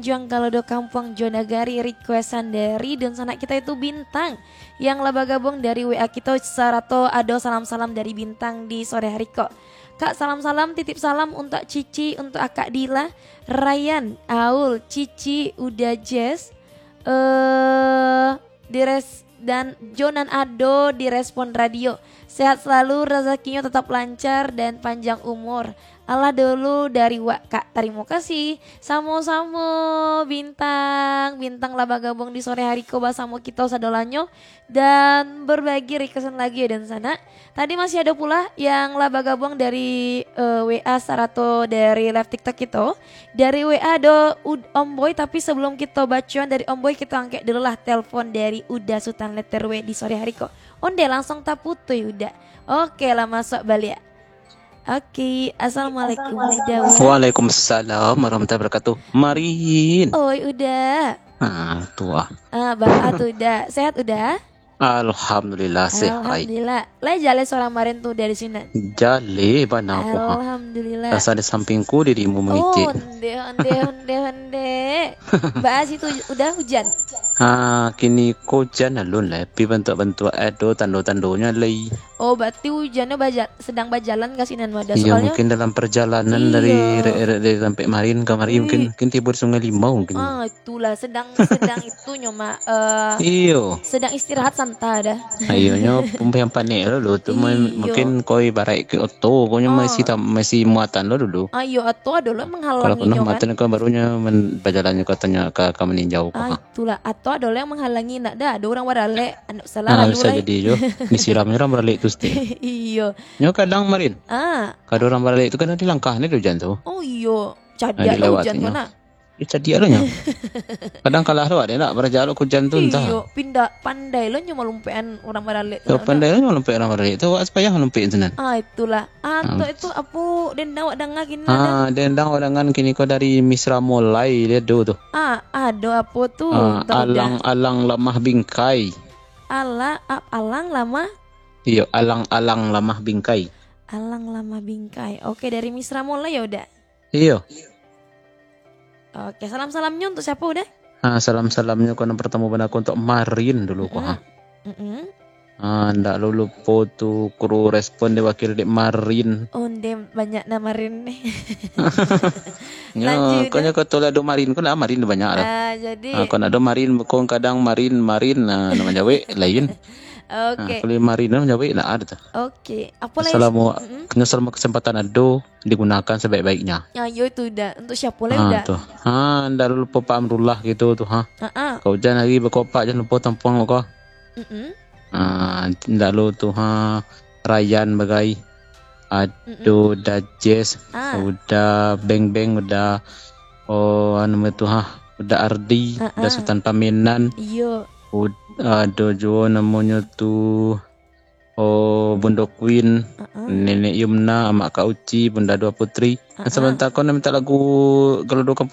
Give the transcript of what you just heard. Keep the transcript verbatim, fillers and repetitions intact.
Juang kalau do kampuang jo nagari, requestan dari dunsanak kita itu Bintang yang lah bagabuang dari W A kito, sarato ado salam-salam dari Bintang di sore hari ko. Kak, salam-salam, titip salam untuak Cici, untuak Akak Dila, Ryan, Aul, Cici, Uda Jess, eh, Dires, dan jo nan ado di Respon Radio. Sehat selalu, rezekinyo tetap lancar dan panjang umur. Alah dulu dari wak, Kak. Tarimo kasih. Samo-samo, Bintang. Bintang lah bagabuang di sore hari ko basamo kito sadolanyo dan berbagi requestan lagu ya, dunsanak. Tadi masih ado pulo yang lah bagabuang dari, eh, W A sarato dari live TikTok kito. Dari W A ado Ud-, Om Boy, tapi sebelum kito bacoan dari Om Boy, kito angkek dulu lah telepon dari Uda Sutan Letter W di sore hari ko. Onde langsung taputuih, Uda. Oke lah, masuk baliak. Oke, assalamualaikum, Uda. Waalaikumsalam warahmatullahi wabarakatuh. Marin. Oi, Uda. Ah, tuah. Ah, baa tu, Uda? Sehat, Uda? Alhamdulillah, sehat. Alhamdulillah. Lai jaleh surang Marin tu dari sinan? Jaleh bana ko, ha. Alhamdulillah. Rasa di sampingku dirimu mangicik. Oh, ondeh, ondeh, ondeh, ondeh. Baa situ Uda, hujan? Ha, kini ko hujan alun lah, tapi bantuak-bantuak ado tando-tandonyo lai. Oh, berarti hujannyo baja-, sedang bajalan ka sinan, Uda. Iyo, soalnyo mungkin dalam perjalanan dari, iyo, re-, re-, dari tampek Marin ka mari, mungkin, mungkin tibo di Sungai Limau mungkin. Ah, itulah, sedang, sedang itunyo, Mak, eh, iyo, sedang istirahat santa dah. Iyo, nyo pun panek dulu tu, mu-, iyo, mungkin ko ibarat ke oto, ko nyo, ah, masih tam-, masih muatan lo dulu. Ah, iyo, atau ado lo manghalangi nyo kan? Kalau penuh muatan ko barunyo men-, bajalannyo katanya ka, ka maninjau ko, ah, ha. Itulah, atau ado lo yang manghalangi, nak dah, ado urang baralek, anak salah. Ah, lalu bisa lai jadi jo. Disiramnyo urang baralek tu setiap. Iyo. Nyo kadang Marin. Ah. Kadang urang baralek tu kadang di langkah ni hujan tu. Oh, iyo. Ah, cadiak lah hujan tu, dilewati nyo. Nak. Yo, cadiak lo nyo. Kadang kalah lo, ado nak baraja lo hujan tu, entah. Iyo, pindah, pandai lo nyo malumpekan urang baralek tu. Yo, nak, pandai lo nyo malumpek urang baralek tu, awak sapayah malumpek tu nan. Ah, itulah. Ah, tu, itu apo dendang awak danga kini, ah, dendang awak danga kini ko dari Misra Molai, dia do tu. Ah, ado apo tu? Ah, entah, Uda. Alang-alang lamah bingkai. Ala-, a-, alang lamah? Iyo, alang-alang lamah bingkai. Alang lamah bingkai. Oke, dari Misra Molai ya, Uda? Iyo. Oke, salam-salamnyo untuk siapo, Uda? Ah, salam-salamnyo ko nan partamo bana ko untuk Marin dulu ko, ha. Mm-mm. Ah, ndak lo lupo tu kru Respon diwakili dek Marin. Onde banyak nah Marin ni. Nyo, lanjut, ko nyo ko tu lah ado Marin ko lah, Marin tu banyak lah. Ah, jadi. Ah, ko ndak ado Marin, ko kadang Marin, Marin, nah, nak manjawek lain. Oke. Ah, kalau Marin nak manjawek lah ado tu. Oke. Apo lai? Assalamu-, mm-mm, nyo salamo kesempatan ado, digunakan sebaik-baiknya. Ah, yo tu, Uda. Untuk siapo lai, ah, Uda? Tu. Ha, ndak lupo Pak Amrullah gitu tu, ha. Ah, ah. Kau hujan hari bakopak, jan lupo tampuang ko. Mm-mm. Ha, ndak lo tu, ha. Rayan bagai. Ado, mm-mm, Uda Jess, ah, Uda Beng Beng, Uda, oh, anu tu, ha. Uda Ardi, ah, Uda, ah, Sutan Pamenan. Iyo. Ud-, ado juo namonyo tu, oh, Bundo Queen, heeh, Nenek Yumna, Amak Kak Uci, Bunda Dua Putri. Heeh. Sabanta ko nak minta lagu Galodo Kampung